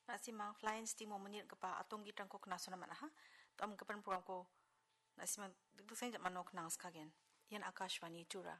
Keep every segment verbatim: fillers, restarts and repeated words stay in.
Na·simang Flying Steam-o minirgipa atong gitrangko knasona man·aha. Dam·gipan programko na·simang dikdiksen jamano knangskagen. Ian Akashvani Tura.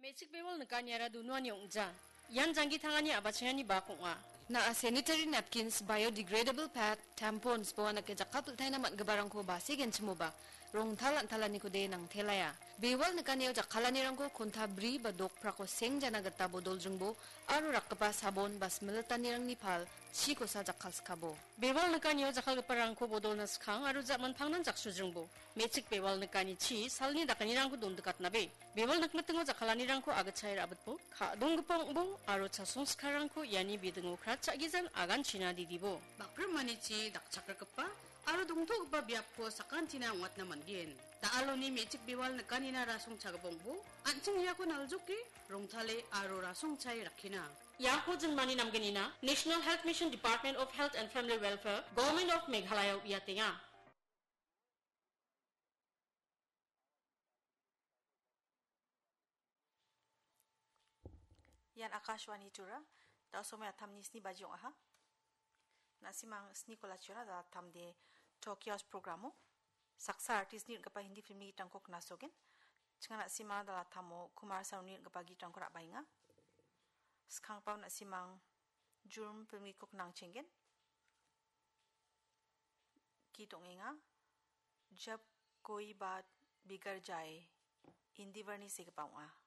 Mechik bewal nikaniara dunuani ong·ja. Ian janggi tangani abachengani bak ong·a. Na·a sanitary napkins, biodegradable pad, tampons boa nake jakkalpiltaina man·giparangko base genchimoba, rongtal an·talaniko de nangtelaia. Bewal nikanio jakkalanirangko konta bri ba dokprako seng jana gita bodoljringbo aro rakgipa sabon ba smilitanirangni pal chikosa jakkalskabo. Bewal nikanio jakkalgiparangko bodolna skang aro ja·manpangnan jaksujringbo. Mechik bewal nikani chi salni dakanirangko dondikatnabe. Bewal nikmitingo jakkalanirangko agitchae ra·bitbo, ka·donggipa ong·bo aro chasong skarangko iani bidingo kratcha·gijan aganchina didibo. Bakrimani chi dakchakrikgipa aro dongtogipa biapko sakantina ong·atna man·gen. Da·aloni mechik bewal nikanina rasong chagipa ong·bo, an·ching iako naljoke, rongtale aro rasong chae rakkina. Iako jinmani namgenina National Health Mission, Department of Health and Family Welfare, Government of Meghalaya uiatenga. Ian Akashvani Tura, da·o somoi atamni sni baji ong·aha. Na·simang sniko lachora da tamde Tokyo's programo saksa artistni ritgipa Hindi filmni gitrangko knasogen. Chinga na·simang da·o tamo Kumar Sanuni ritgipa gitrangko ra·baenga. Skangpao na·simang Jurm filmniko knangchenggen. Git ong·enga, Jab Koi Baat Bigar Jaye, Indivarni segipa ong·a.